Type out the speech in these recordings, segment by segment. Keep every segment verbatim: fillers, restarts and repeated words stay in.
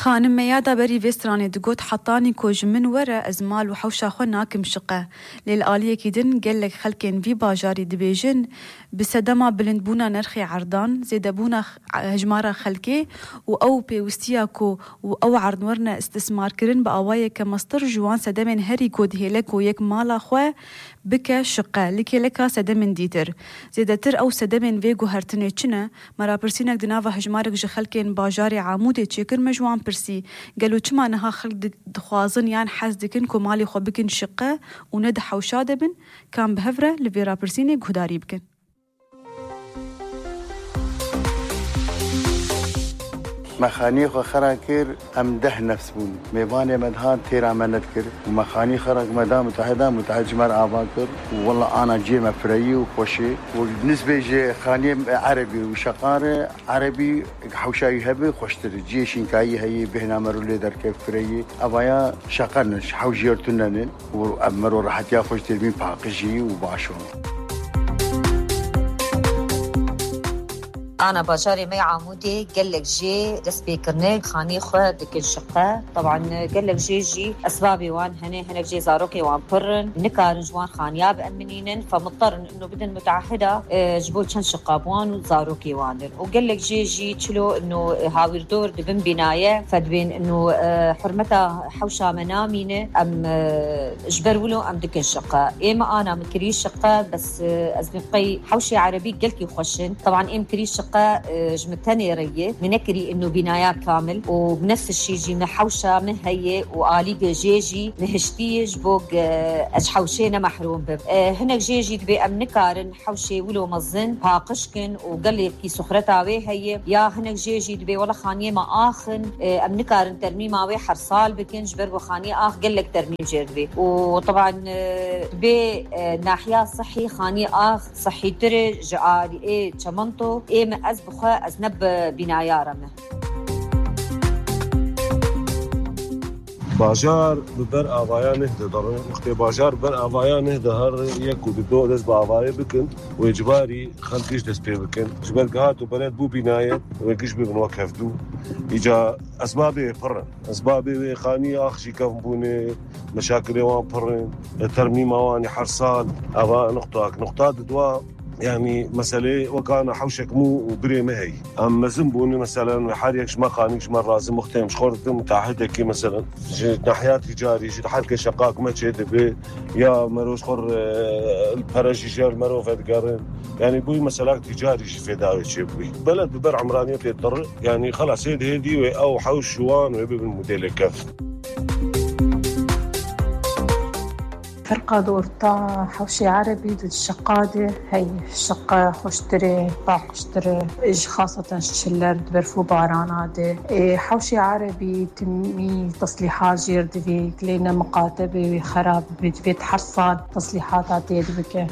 Xanim Meyada berî vê stranê digot, Hetanî ku ji min were, ez mal û hewşa xwe nakim şiqe. Lê li aliyekî din gelek xelkên vî bajarî dibêjin, bi sedema bilindbûna nirxê erdan, zêdebûna x-, hejmara xelkê û ew pêwistiya ku û ew erd werine istismarkirin bi awayeke mestir ji wan sedemên herî ku dihêle ku yek mala xwe bike şiqe, li kêleka sedemên dîtir. Zêdetir ew sedemên vê guhertinê çi ne? Me rapirsînek di nava hejmarek ji xelkên bajarê Amûdê çêkir, me ji wan pirsî, gelo çima niha xelk di-, dixwazin yan hez dikin ku malê xwe bikin şiqe û ne di hewşa de bin? Ka em bi hev re li vê rapirsînê guhdarî bikin. Me xaniyê xwe xera kir, em deh nefs bûn. Mêvanê me dihat têra me nedikir û me xanî xera ku me da muteheda, mutehid ji me re ava kir û wela ana ciyê me fireyî û xweşê û nisbê ji xaniyê erebî û şeqarê erebî hewşa wî hebe xweştir e. Ciyê şînkayî heye, bêhna mero lê derkeve fireyî. Evaya şeqer ne, ji hewşiyê tune ne û ev mero rehetiya xwe ji têrmî paqijî û baş o. Ana bajarê me yê Amûdê gelek jê dest pê kirine, xanî xwe dikin şiqe. Teban gelek jê jî esbabê wan hene, hinek jê zarokê wan pir in, nikarin ji wan xaniya bieminînin, femitterin ino bidin mutehida, e, ji bo çend şiqa bi wan û zarokê wan in. Û gelek jê jî çilo ino, e, hawîrdor dibin bînaye, fedibên ino, e, hurmeta hewşa me namîne, em, e, ji ber wilo em dikin şiqe. Ê me ana min kirî şiqe, bes, e, ez bê qey hewşê erebî gelkî xweş in. Teban êm kirî şiqe, e, ji min tenê re ye. Min nekirî ino bînaya kamil û bi nefs şî jî min hewşa min heye û alî ge jê jî min hiştî ye ji bo ge ez ji hewşê ne mehrûm bim. E, hinek jê jî dibê em nikarin hewşê wilo mezin paqij kin û gelekî suxreta wê heye. Ya hinek jê jî dibê wela xaniyê me ax in, e, em nikarin termîma wê her sal bikin, ji ber ku xaniyê ax gelek termîm jê re dibê. Û teban, e, dibê, e, nahiya sihî xaniyê ax sihîtir e ji alî ê çemento. Ê me ez bi xwe, ez ne bi bînaya re me. Bajar bi ber avaya neh didirin. Wextê bajar bi ber avaya neh diherin, yek û du dest bi avayê bikin, wê cibarî xelk giş dest pê bikin. Ji ber gihat û beled bû bînayet, wê giş bibin wek hevdû. Îca esbabê pir in. Esbabê wê xanî ax jî kevn bûne, meşakilê wan pir in. Termîma wan ê her sal. Eva nuqtak. Nuqta didwa, yanî meselê wekana hewşek mû û birê me heyî. Em mezin bûne, meselen, her yek ji me xanîk ji me razî muxtêm ji xwe didim, mutahidekî, meselen, ji nahiya tîcarî, ji her ke şeqak me çê dibe, ya mero ji xwe re, e, pere jî jê li mero vedigerin. Yanî bûyî meselak tîcarî jî fêda wê çêbûyî. Beled bi ber emraniyetê dir, yanî xelas ê dihê dî wê ew hewş wan wê bibin modêlê kevn. Ferqa di orta hewşê erebî di şiqa de heye. Şiqa xweştir e, paqijtir e. Ji xaseten ji çiller di berf û barana de. Ê, hewşê erebî timî teslîhat jêr divê, lê ne miqate be wê xerab be, divê her sal teslîhata tê dibike.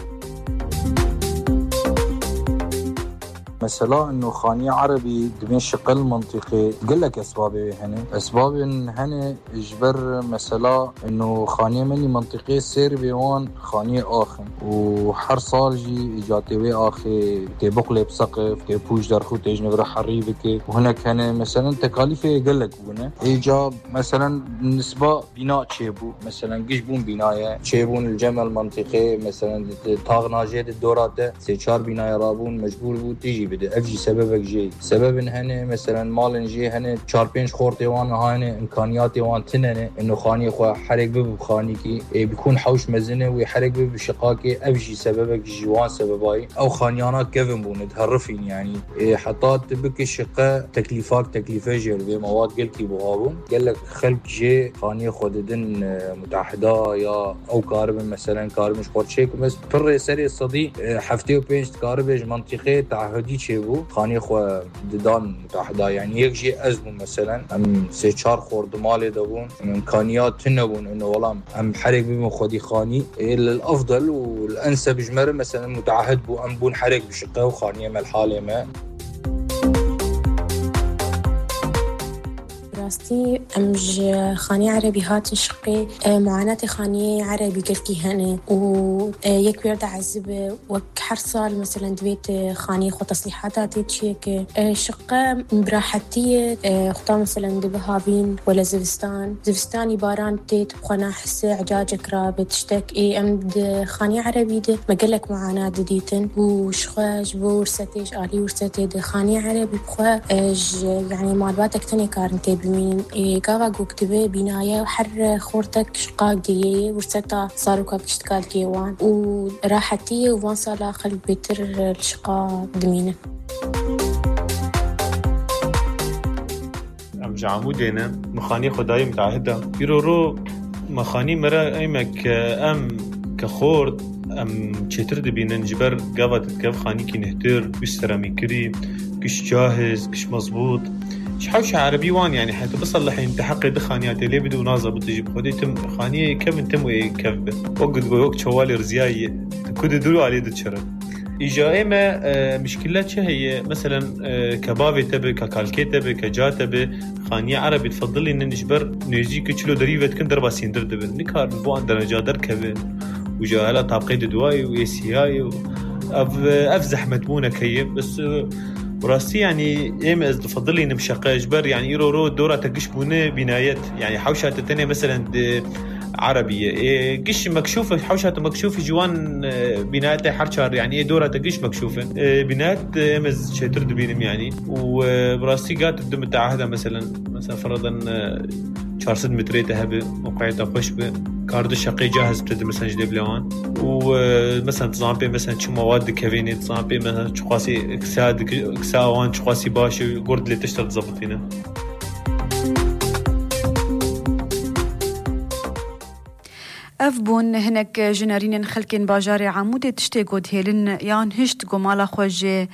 Mesela, ino xaniyê erebî dibên şiqe li mintîqê gelek esbabê wê hene. Esbabên hene ji ber, mesela, ino xaniyê me nî mintîqê sêr bê wan xaniyê ax in. Û her sal jî îca tê wê axê tê biqulê bi seqif, tê pûç derxû, tê ji nivre herî bike. Û hinek hene, meselen, tekalîfê gelek bûne. Îca, meselen, nisba bîna çêbû. Meselen, giş bûn bînaye. Çêbûn li cem el mintîqê, meselen, di, di taxna jê di dora te sê çar bînaye rabûn, mecbûr bû tijî bide. Ev jî sebebek jê. Sebebin hene, meselen, malên jê hene, çar pênc xortê wan niha hene, imkaniyatê wan tine ne. Ino xaniyê xwe herek bibe bi xanîkî, ê bikûn hewş mezin e, wê herek bibe bi şiqakê, ev jî sebebek ji wan sebebayî. Ew xaniyana kevin bûne, diherifîn, yanî. Ê, heta tu bike şiqe, teklîfak, teklîfe jê li vê mewad gelkî buha bûn. Gelek xelk jê xaniyê xwe didin, e, mutahida ya ew karibin, meselen, karibin ji xwe çêkin. Bes pirrê serê sedî, e, heftê û pênc dikaribe ji mintîqê teahudî çêbû. Xaniyê xwe didan mutahida, yanî yek jê ez bûm, meselen, em sê çar xort di malê de bûn, imkaniya tune bûn, ino welam em herek bibin xwedî xanî. Ê, lil efdel û li enseb ji me re, meselen, mutahid bû, em bûn herek bi şiqe û xaniyê me li halê me. Rastî em ji xanî erebî hatin şiqê, e, muanatê xaniyê erebî gelkî hene û, e, yek wêr de ezib e, wek her sal, meselen, divêt, e, xaniyê xwe teslîhata tê çiyeke, e, şiqe bi rahetî ye, e, xwe ta, meselen, dibe havîn wele zivistan. Zivistanî baran tê, tu bi xwe nahise, ecacek rabe, tiştek. Ê, em di xaniyê erebî de me gelek muana didîtin û ji xwe ji bo wirsetê, ji alî wirsetê de xaniyê erebî bi xwe, e, ji, yanî malbatek tenê karin tê bimînin. Ê, gava ku dibe bînaye her xortek şiqak diyê, wirseta zaroka gişt kalkê wan û rahetî ye û van sala xelk bêtir li şiqa dimînin. Em ji Amûdê ne, mixanî xwe dayî mutahida. Îro ro mexanî me re ey me ke em ke xort, em çêtir dibînin, ji ber gava didkev xanîkî nihtir, giş seramîkirî, giş cahiz, giş mezbût. Ji hewşa erebî wan, yanî heta biselihîn, te heqê di xaniya tê lê bide û naza bide jî bi xwedê tim xaniyê kevin tim wê kev be. Wek digo, wek çewalê riziyayî ye. Tu ku di dûr alê diçirin. Îja ê me, e, mişkile çi heye? Meselen, e, ke bavê te be, ke kalkê te be, ke ca te be, xaniye erebî difedilînin ji ber nêzî ku çilo derî vedikin derba sîndir dibin. Nikarin bo an dereca derkevin. Û ja hela tabqê di duayê û ê siyayê û ev, ev zehmet bûneke ye. Bes, e, bi rastî, yanî, ê me ez difedilînim şeqe ji ber, yanî, îro ro dora te giş bûne bînayet. Yanî, hewşa te tenê, meselen, di erebî ye. Ê, giş mekşûf e, hewşa te mekşûf e ji wan, e, bînayetê her çar, yanî, ê dora te giş mekşûf in. E, bînayet, e, ê me çêtir dibînim, yanî. Û, e, bi rastî gat di mutahede, meselen, Mesela, firadan, e, çar sed metreyê te hebe, mewqeyê te xweş be, kar di şeqê cahiz bide, mesela, ji dê bile wan. Û, e, mesela, tu zan pê, mesela, çi mewad dikevînê, tu zan pê, mesela, çiqasî kisa dik-, kisa wan çiqasî baş e, gur dilê tişta dizebitîne. Ev bûn hinek ji nerînên xelkên bajarê Amûdê tiştê ku dihêlin yan hişt ku mala xwe ji,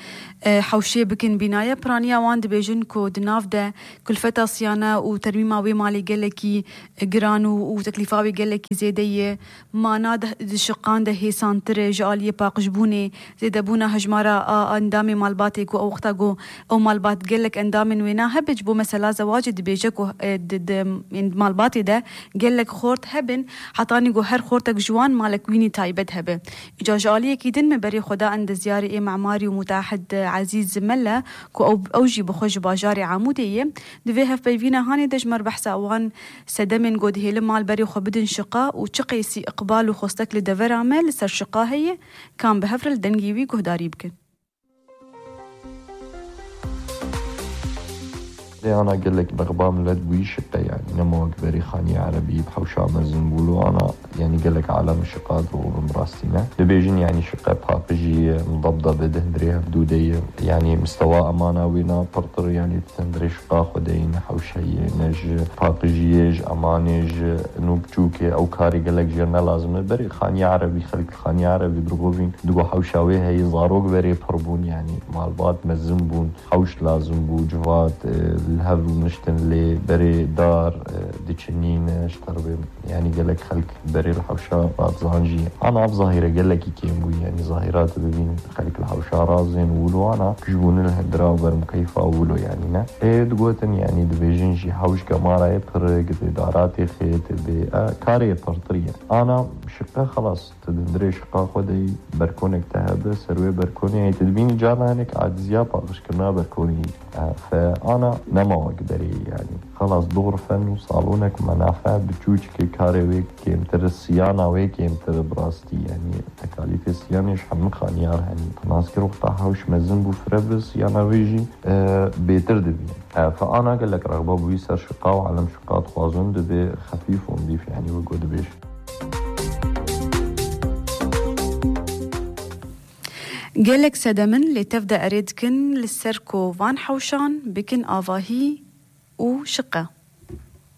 e, hewşê bikin bînaye. Piraniya wan dibêjin ku di nav de kulfeta siyane û termîma wê malê gelekî giran û, û teklîfa wê gelekî zêde ye. Mana de, di şiqan de hêsantir e ji aliyê paqijbûnê, zêdebûna hejmara a endamê malbatê ku ew wexta ku ew malbat gelek endamên wêna hebe, ji bo mesela zewacê dibêje ku, e, di, di, ên malbatê de gelek xort hebin, hetanî ku her xortek ji wan malek wînî taybet hebe. Îca ji aliyekî din me berê xwe da endezyarê ê memarî û mutahid Ezîz Mele ku ew, ew jî bi xwe ji bajarê Amûdê ye. Di vê hevpeyvîna hanê de ji me re behsa wan sedemên ku dihêlin mal berê xwe bidin şiqa û çi qeysî iqbal û xwestek li devera me li ser şiqa heye, kan bi hev re li dengê wî guhdarî bikin. Lê ana gelek bexba milet bûyî şiqe, yanî nema wek berê xanî erebî bi hewşa mezin bû lo ana, yanî gelek alem şiqa dirûvin bi rastî ne. Dibêjin yanî şiqe paqijî ye, mudebdebe di hundirê hevdû de ye. Yanî mistewa emana wê na pirtir, yanî di hundirê şiqa xwe de yî ne hewşa ye, ne ji paqijiyê, ji emanê, ji nû biçûkê ew karê gelek jê ne lazim e. Berê xanî erebî, xelk li xanî erebî dirûvîn, digo hewşa wê heye, zarok berê pir bûn, yanî malbat mezin bûn. Hewş lazim bû, civat, e, li hev rûniştin lê berê dar, e, diçinîne, ji terbê, yanî gelek xelk berê li hewşa radizan jî. Ana ev zahîre gelekî kêm bû, yanî zahîra tu bibîn xelk li hewşa razên wilo ana, kij bûne li hindira û bermukeyfa wilo, yanî ne. Ê digotin, yanî dibêjin jî hewş gemara ye pirik, dê dara tê xêt, dê, e, karê ye pirtir ye. Ana şiqe xelas. Tu di hundirê şiqa xwe de yî, berkonek te hebe, ser wê berkonê yî tu dibînî carna hinek aciziya paqijkirina berkonê yî. E, fe ana nema wek berê yî, yanî. Xelas, dor fen û salonek menafe biçûçikê karê wê kêmtir, siyana wê kêmtir bi rastî, yanî tekalîfê siyanê ji hemû xaniyar henî. Nas kir wexta hewş mezin bû fire bi, siyana wê jî, e, bêtir dibî. E, fe ana gelek rexba bûyî ser şiqa û alem şiqa dixwazin dibê xefîf û nzîf, yanî wek ku dibêjin. Gelek sedemin lê tev de erê dikin li ser ku van hewşan bikin avahî û şiqe.